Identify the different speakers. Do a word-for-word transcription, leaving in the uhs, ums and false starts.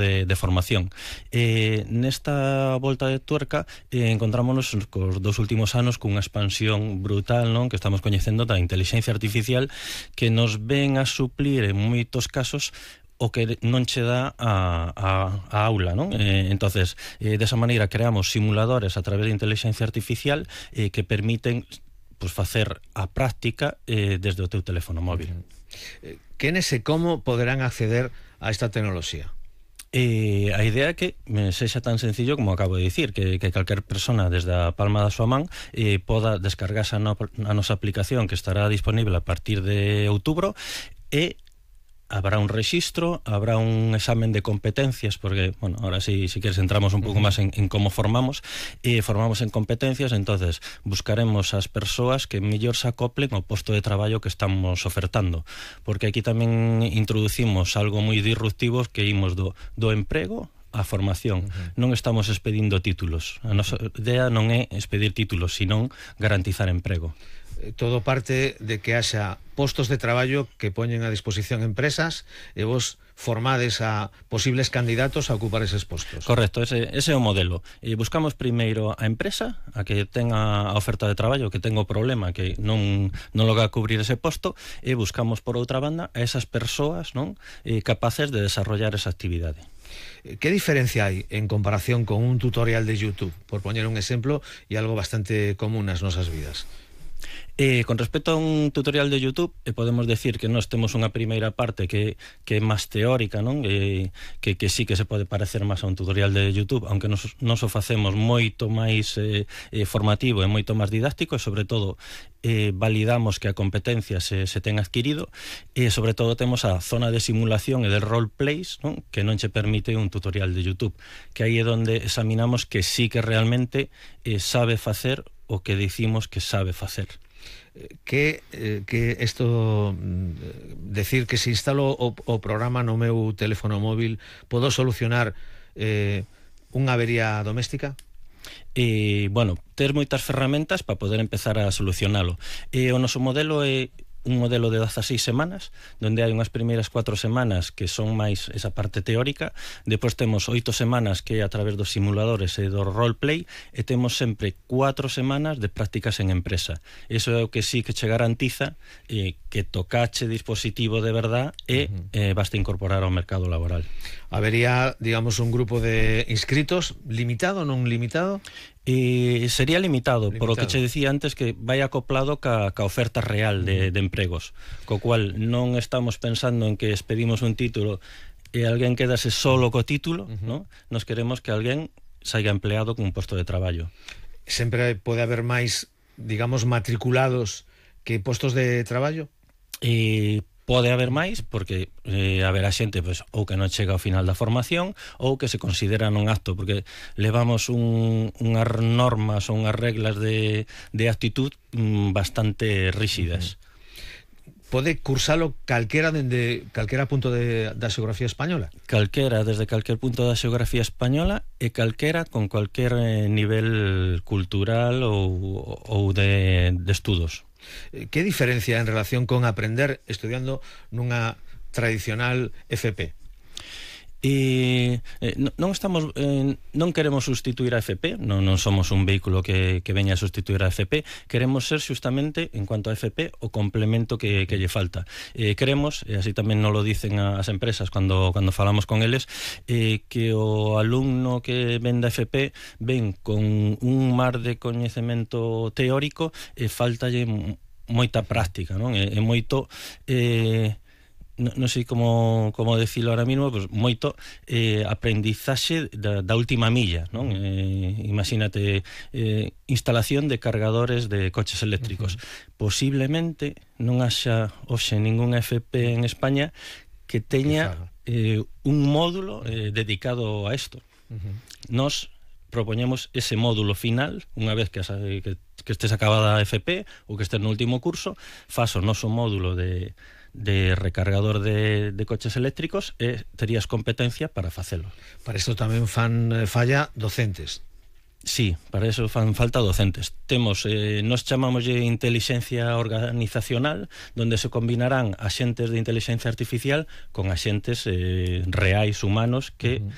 Speaker 1: De, de formación. Eh, nesta volta de tuerca eh, encontrámonos cos dos últimos anos cunha expansión brutal, non, que estamos coñecendo da inteligencia artificial, que nos ven a suplir en moitos casos o que non che dá a, a, a aula, non? Eh, entonces, eh, desa maneira creamos simuladores a través de inteligencia artificial eh, que permiten pues, facer a práctica eh, desde o teu teléfono móvil.
Speaker 2: Quenes e como poderán acceder a esta tecnoloxía?
Speaker 1: Eh, a idea é que eh, sexa tan sencillo como acabo de dicir, que, que calquer persona desde a palma da súa man eh, poda descargarse a, no, a nosa aplicación, que estará disponible a partir de outubro, e habrá un rexistro, habrá un examen de competencias, porque, bueno, ahora sí, si quieres entramos un pouco uh -huh. máis en, en como formamos, e eh, formamos en competencias, entonces buscaremos as persoas que mellor se acoplen ao posto de traballo que estamos ofertando, porque aquí tamén introducimos algo moi disruptivo, que imos do, do emprego a formación. Uh-huh. Non estamos expedindo títulos, a nosa idea non é expedir títulos, senón garantizar emprego.
Speaker 2: Todo parte de que haxa postos de traballo que poñen a disposición empresas e vos formades a posibles candidatos a ocupar eses postos.
Speaker 1: Correcto, ese, ese é o modelo. E buscamos primeiro a empresa, a que tenga a oferta de traballo, que tenga o problema, que non, non logra cubrir ese posto, e buscamos por outra banda a esas persoas, non, eh, capaces de desarrollar esa actividade.
Speaker 2: ¿Qué diferencia hay en comparación con un tutorial de YouTube? Por poñer un exemplo, e algo bastante común nas nosas vidas.
Speaker 1: Eh, con respecto a un tutorial de YouTube, eh, podemos decir que nós temos unha primeira parte que, que é máis teórica, non? Eh, que, que sí que se pode parecer máis a un tutorial de YouTube, aunque nos, nos o facemos moito máis eh, eh, formativo e moito máis didáctico, e sobre todo eh, validamos que a competencia se, se ten adquirido, e sobre todo temos a zona de simulación e de roleplays, non? Que non che permite un tutorial de YouTube, que aí é onde examinamos que sí que realmente eh, sabe facer o que dicimos que sabe facer.
Speaker 2: Que, eh, que esto decir que se instalo o, o programa no meu teléfono móvil podo solucionar eh, unha avería doméstica?
Speaker 1: E, bueno, ter moitas ferramentas para poder empezar a solucionalo. E o noso modelo é un modelo de dezaseis semanas, donde hai unhas primeiras cuatro semanas que son máis esa parte teórica, depois temos oito semanas que é a través dos simuladores e do roleplay, e temos sempre cuatro semanas de prácticas en empresa. Iso é o que sí que che garantiza eh, que tocache dispositivo de verdad e uh-huh. eh, basta incorporar ao mercado laboral.
Speaker 2: Habería, digamos, un grupo de inscritos limitado, non limitado?
Speaker 1: Eh, sería limitado, limitado, por o que che decía antes, que vai acoplado ca, ca oferta real de, de empregos, co cual non estamos pensando en que expedimos un título e alguén quedase solo co título, uh-huh. ¿no? Nos queremos que alguén saiga empleado con un posto de traballo.
Speaker 2: Sempre pode haber máis, digamos, matriculados que postos de traballo?
Speaker 1: E pode haber máis, porque eh, haberá xente pues, ou que non chega ao final da formación ou que se considera non apto, porque levamos un, unhas normas ou unhas reglas de, de actitud mm, bastante rígidas.
Speaker 2: Pode cursalo calquera dende calquera punto de, da xeografía española?
Speaker 1: Calquera, desde calquer punto da xeografía española, e calquera con calquer eh, nivel cultural ou, ou de, de estudos.
Speaker 2: Que diferencia en relación con aprender estudiando nunha tradicional F P?
Speaker 1: E eh, non estamos eh, non queremos sustituir a F P, non, non somos un vehículo que, que veña a sustituir a F P, queremos ser xustamente, en cuanto a F P, o complemento que, que lle falta. Eh, queremos, e así tamén nos lo dicen as empresas cando, cando falamos con eles, eh, que o alumno que ven da F P ven con un mar de coñecemento teórico e faltalle moita práctica, non? E, e moito... Eh, non no sei como, como decirlo ahora mismo, pues moito eh, aprendizaxe da, da última milla, non? Eh, imagínate, eh, instalación de cargadores de coches eléctricos. Uh-huh. Posiblemente non haxa hoxe ningún F P en España que teña eh, un módulo eh, dedicado a isto. Uh-huh. Nos propoñemos ese módulo final, unha vez que, que, que estés acabada a F P ou que estés no último curso, faz o noso módulo de de recargador de, de coches eléctricos e terías competencia para facelo.
Speaker 2: Para isto tamén fan falla docentes.
Speaker 1: Sí, para eso fan falta docentes. Temos, eh, nos chamámoslle inteligencia organizacional, donde se combinarán axentes de inteligencia artificial con axentes eh, reais humanos que uh -huh.